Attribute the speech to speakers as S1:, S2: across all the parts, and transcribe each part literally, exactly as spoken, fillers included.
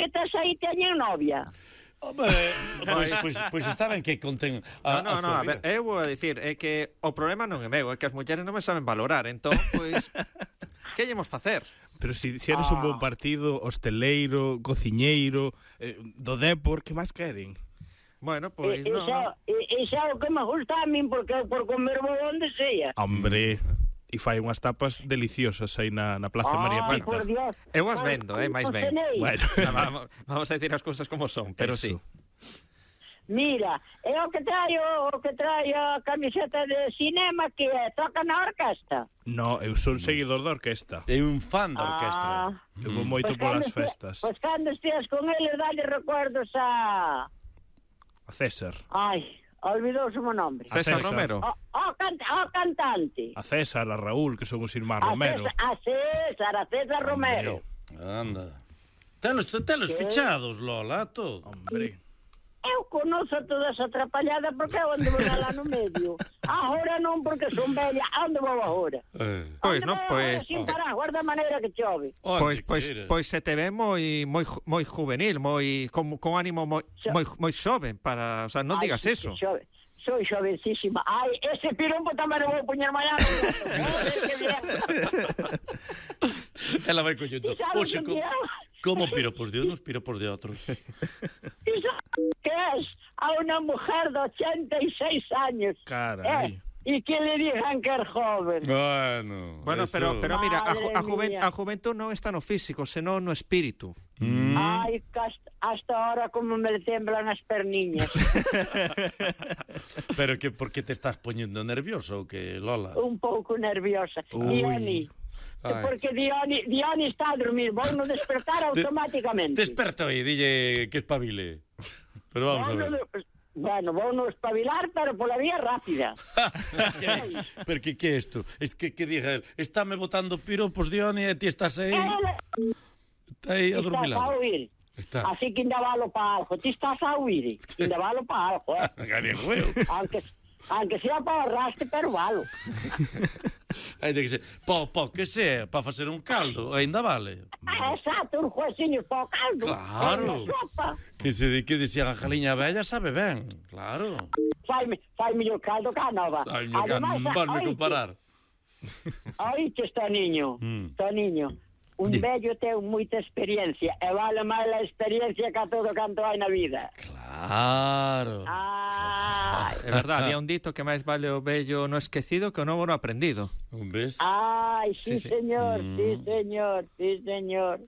S1: que tes aí teñen novia.
S2: Home, pois, pois, pois está ben que conten a,
S3: No, no,
S2: a
S3: no,
S2: súa
S3: a ver,
S2: vida.
S3: eu vou a dicir, é que o problema non é meu, é que as mulleres non me saben valorar, entón, pois, que llemos facer?
S4: Pero si, si eres ah. un bon partido, hosteleiro, cociñeiro, eh, do Depor, que máis queren?
S3: Bueno, pois,
S1: E,
S3: no,
S1: iso,
S3: no.
S1: e, iso é o que me gusta a min, porque eu por comer vou onde sea.
S4: Hombre, e fai unhas tapas deliciosas aí na, na Plaza
S1: Ay,
S4: María Pita.
S1: por Dios.
S3: Eu as vendo, eh, máis ben.
S4: Bueno,
S3: No, vamos, vamos a decir as cousas como son, pero
S4: Eso.
S3: sí.
S1: Mira, é o que traio, o que traio a camiseta de cinema que é, toca na orquesta.
S4: No, eu son seguidor da orquesta.
S2: É un fan da orquestra.
S1: Ah,
S4: Eu vou moito
S1: Pois
S4: polas
S1: cando este-
S4: festas.
S1: Pois cando esteas con eles, dale recuerdos a...
S4: A César.
S1: Ai, olvidouse o meu nome.
S4: A
S3: César
S4: César.
S3: Romero.
S1: O, o, can- o cantante.
S4: A César, a Raúl, que son os irmáns
S1: A
S4: Romero.
S1: César, a César, a César Romero.
S2: Anda. Telos, telos
S1: Que?
S2: fichados, Lola, todo.
S4: Hombre.
S1: Eu conozo toda esa atrapallada porque eu ando lá no medio. Agora non, porque son bella. Onde vou agora?
S2: Eh.
S3: Pois,
S1: Onde
S3: non,
S1: vou
S3: pois...
S1: agora sin parar, guarda a maneira que chove.
S3: Pois, pois, pois se te ve moi moi ju- moi juvenil, moi con, con ánimo moi
S1: Xo-
S3: moi moi xoven para, o sea, non
S1: Ai,
S3: digas
S1: sí,
S3: eso.
S1: Xove, soy xovencísima. Ai, ese piropo tamén o vou poñer mañana. Joder, que bien.
S2: Ela vai collendo.
S1: E sabes
S2: Oxe,
S1: que
S2: co,
S1: é?
S2: como piropos de uns, piropos de outros.
S1: E sabes que es a una mujer de ochenta y seis años.
S4: Carai.
S1: Eh, y que le digan que es joven.
S2: Bueno,
S3: Bueno,
S2: eso.
S3: pero pero mira, a, ju- a,
S1: Madre
S3: juven,
S1: mía.
S3: a juventud non está no físico, senón no espírito.
S2: Mm.
S1: Ay, que hasta, hasta ahora como me temblan las perniñas.
S2: Pero que por que te estás poñendo nervioso ou que, Lola?
S1: Un pouco nerviosa.
S4: Uy.
S1: Dioni.
S2: Ai.
S1: Porque Dioni, Dioni está a dormir. Vou no despertar automáticamente.
S2: Desperta aí, dille que espabile. Pero vamos a
S1: Vou
S2: ver.
S1: no- Bueno, vou no espabilar, pero pola vía rápida.
S2: Pero que que é isto? Es que que diga el, estáme botando piropos Dioni e ti estás aí,
S1: Ela
S2: está aí a
S1: estás a
S2: dormilado.
S1: oír.
S2: Está.
S1: Así que ainda valo para algo. Ti estás a oír. Ainda valo para algo, eh.
S2: Gallego eu.
S1: Aunque, aunque sea para ahorraste, pero valo.
S2: Hai de que ser, po, po, que sea, para facer un caldo, ainda vale.
S1: Ah, exacto, un juecinho para o caldo.
S2: Claro.
S1: Unha sopa.
S2: Que se di que dicía a jaliña bella sabe ben, claro.
S1: Fai, fai mellor caldo que a nova.
S2: Ai, me can,
S1: Ademais,
S2: vanme
S1: oíste,
S2: comparar.
S1: Oíste, Toniño,
S2: Mm.
S1: Toniño, un vello ten moita experiencia e vale máis a experiencia que a todo canto hai na vida.
S2: Claro.
S1: Ai,
S3: É verdade, había un dito que máis vale o vello no esquecido que o novo no aprendido.
S2: Un ves?
S1: ai, sí,
S3: Sí, sí.
S1: señor,
S2: Mm.
S1: sí, señor, sí, señor.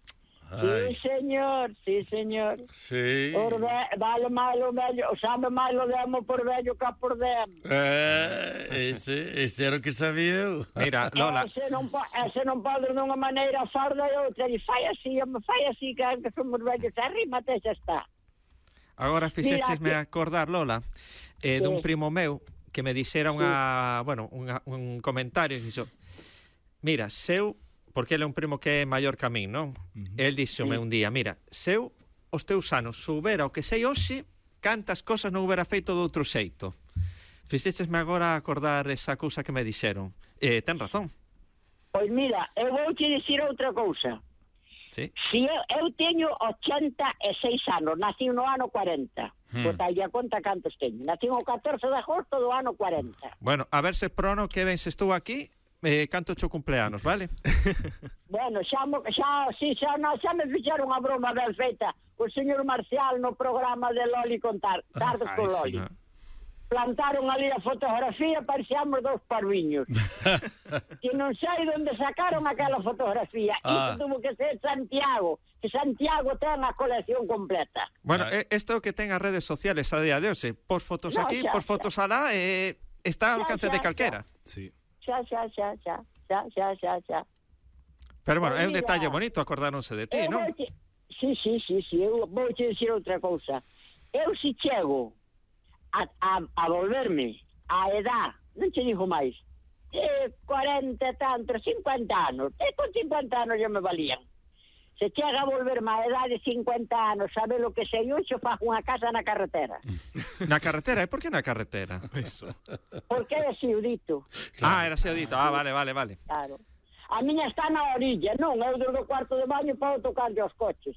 S1: Sí,
S2: Ai,
S1: señor, sí, señor.
S2: sí.
S1: Por ve, vale máis o vello, sabe máis o demo por vello que por demo.
S2: Eh, ese, ese era o que sabía eu.
S3: Mira, Lola,
S1: Ese non, po, ese non pode dunha maneira farda e outra. E fai así, me fai así, que que somos vellos. Arrímate, xa está.
S3: agora fixéchesme
S1: Mira,
S3: acordar, Lola, eh, dun
S1: Sí.
S3: primo meu que me dixera unha, bueno, unha, un comentario e dixo, mira, seu, porque ele é un primo que é maior que a min, non?
S4: Uh-huh.
S3: El dixome un día, mira, seu os teus anos soubera o que sei hoxe, cantas cosas non houbera feito de outro xeito. Fixéchesme agora acordar esa cousa que me dixeron. Eh, ten razón.
S1: Pois mira, eu vou te dicir outra cousa.
S3: Sí.
S1: Si eu, eu teño ochenta e seis anos, nací no ano cuarenta.
S2: Hmm.
S1: Hmm. Bota aí a conta cantos teño. Nací o catorce de agosto do ano cuarenta.
S3: Bueno, a ver se prono que ben se estou aquí, eh, canto cho cumpleanos, vale?
S1: Bueno, xa, mo- xa, si, xa, no, xa me fixeron a broma ben feita o señor Marcial no programa de Loli contar, Tardes
S4: Ai,
S1: con
S4: sí.
S1: Loli. Plantaron ali a fotografía, parecíamos dos parviños. Que non sei onde sacaron aquela fotografía.
S2: Ah.
S1: Iso tuvo que ser Santiago, que Santiago ten a colección completa.
S3: Bueno,
S2: Ai.
S3: eh, isto é o que ten as redes sociales a día de hoxe. Pos fotos
S1: No,
S3: aquí,
S1: xa,
S3: pos fotos alá, eh, está ao
S1: Xa,
S3: alcance
S1: xa,
S3: de
S1: xa.
S3: calquera.
S4: Sí.
S1: Xa, xa, xa, xa, xa, xa, xa, xa.
S3: Pero bueno,
S1: Pois
S3: é un
S1: mira,
S3: detalle bonito, acordáronse de ti,
S1: Eu
S3: non?
S1: vouche- Sí, sí, sí, sí, eu vou te dicir outra cousa. Eu si chego a, a, a volverme a edad, non te digo máis, de cuarenta e tantos, cincuenta anos, e con cincuenta anos já me valían. Se chega a volverme a edad de cincuenta anos, sabe lo que sei hoxe, fago unha casa na carretera.
S3: Na carretera, e por que na carretera?
S4: Eso.
S1: Porque é así o dito,
S3: Ah, era así o dito. Ah, vale, vale, vale.
S1: claro. A miña está na orilla, non, eu do cuarto de baño podo tocarlle aos coches.